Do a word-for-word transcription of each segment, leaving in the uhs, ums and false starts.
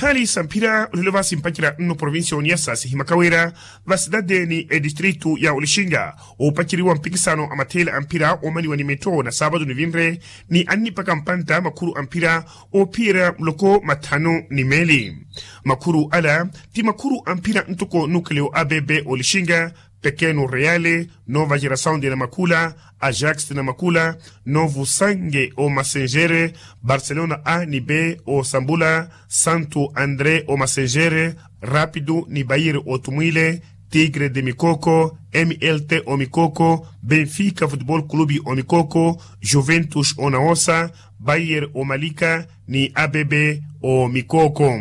Hali samphira olelo vasi mpacerya nno provincia oniyasa sihimaka wira vasitati ni edistritu ya olixinga oopaceriwa mpikisano a matheela a mphira oomaniwa ni mitto na saapatu nivinre ni annipaka mpantta makhuru a mphira oophiyerya muloko mathanu ni meeli. Makhuru ala ti makhuru a mphira ntoko nukaleyo a bebe olixinga, pekeno reale, nova gerasaun de namakula, ajax namakula, novo sange o massengere, barcelona a ni b o sambula, santo andre o massengere, rapido ni bayir o tumwile, tigre de mikoko, mlt o mikoko, benfica futbol clube o mikoko, juventus o nawosa, bayir o malika, ni abebe o mikoko.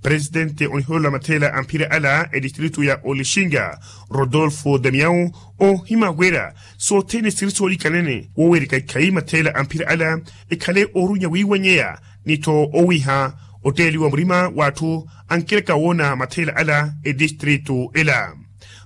Presidente onihololo a matheela a mphira ala edistritu ya olixinga, rodolfo damiao, ohima wira sothene siri soolikanene wowerika ikhayi matheela a mphira ala ekhale orunya wiiwanyeya ni-tho owiha otteeliwa murima w'atthu ankereka woona matheela ala edistritu ela.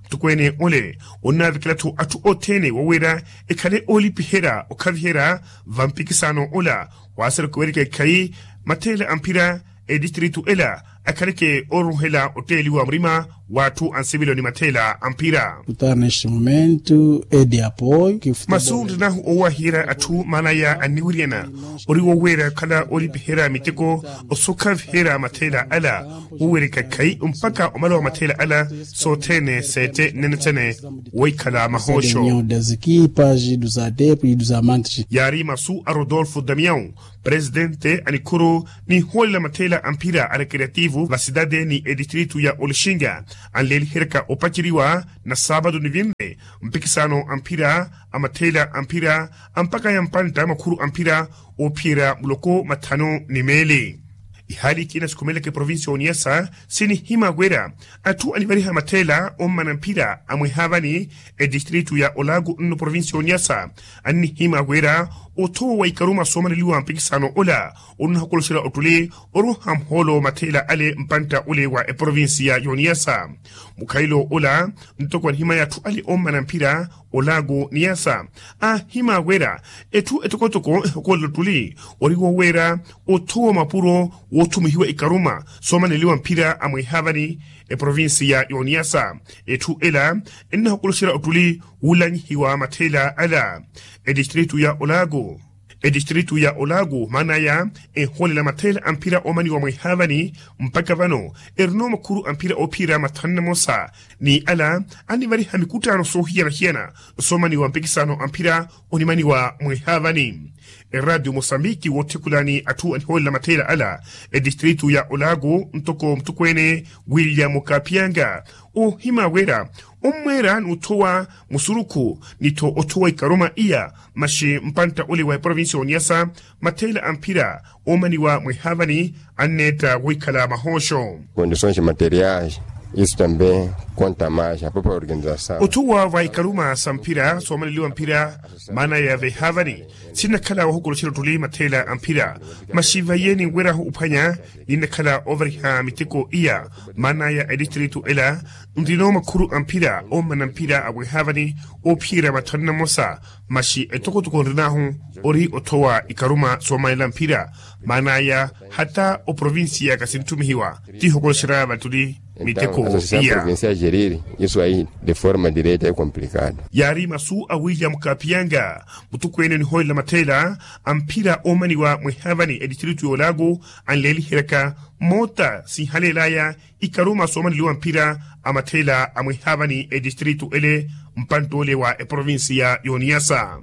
Muttukweene ole onnaavekela-tho atthu othene wowira ekhale oolipiherya okhaviherya vampikisano ola. Waasereke owerika ikhayi matheela a mphira edistritu ela akhaleke oruruhela otteeliwa murima w'atthu ansivilo ni matheela a mphira. Kutarna este momento edi apoio. Masu nrinahu owahiherya atthu maanaya anniwiryana ori woweera okhala olipiherya miteko osokhaviherya matheela ala wowereka khayi mpaka omala wa matheela ala sothene seete nnenetsene woikhala mahoosho. Das equipas dos adeptos dos amantes. Yaari masu a rodolfo damiao, presidente a nikhuru ninhoolela matheela a mphira a recreativo va sitati ni edistritu ya olixinga anleeliheryaka opaceriwa na saapatu nivinre mpikisano a mphira a matheela a mphira a mpaka ya mpantta makhuru a mphira oophiyerya muloko mathanu ni meeli. Ihaali ikina sikhumeleke provincia oniyasa sinihima wira atthu anivariha matheela ommana mphira a mwehaavani edistritu ya olago nno provincia oniyasa annihima wira othowa wa ikaruma soomaneliwa mpikisano ola onnahokolosera ottuli oruha muhoolo matheela ale mpantta ole wa eprovincia y'oniyasa. Mukhalelo ola ntoko anihimaya atthu ale ommana mphira olago niyasa ahima wira etthu etokotoko ehokolela ottuli ori woweera othowa mapuro woothumihiwa ikaruma soomaneliwa mphira a mwehaavani eprovincia y'oniyasa. Etthu ela ennahokoloxera ottuli wuulanyihiwa matheela ala edistritu ya olago. Edistritu ya olago maanaya enhoolela matheela a mphira oomaniwa mwehaavani mpaka vano erina makhuru a mphira oophiyerya mathanu namosa ni ala annivariha mikuttaano soohiyana-hiyana soomaniwa mpikisano a mphira onimaniwa mwehaavani. Eradio mosambiki wootthekulani atthu anihoolela matheela ala edistritu ya olago ntoko muttukweene william kapiyanga ohima wira ommweera n'uthowa musurukhu ni-tho othowa ikaruma iya maxi mpantta ole wa eprovincia oniyasa matheela a mphira oomaniwa mwehaavani anneetta woikhala mahooxo. Condições materiais isso também conta mais a própria organização. Othowa va ikaruma sa mphira soomaneliwa mphira maana ya vehaavani sinnakhala wohokoloxera ottuli matheela a mphira maxi vaiye ninwerahu ophwanya ninnakhala ovariha miteko iya maana ya edistritu ela nrino makhuru a mphira ommana mphira a wehaavani oophiyerya mathanu namosa maxi etokotoko nrinahu ori othowa ikaruma soomanela mphira maan'aya hata oprovincia kasinttumihiwa tihokoloxerya vattuli miteko iya. Provincia gerir isso ahi de forma direta e complicado. Yaari masu a william kapiyanga muttukweene onihoolela matheela a mphira oomaniwa mwehaavani edistritu y'olago anleeliheryaka moota sinhaleel'aya ikaruma soomaneliwa mphira a matheela a mwehaavani edistritu ele mpantt'ole wa eprovincia y'oniyasa.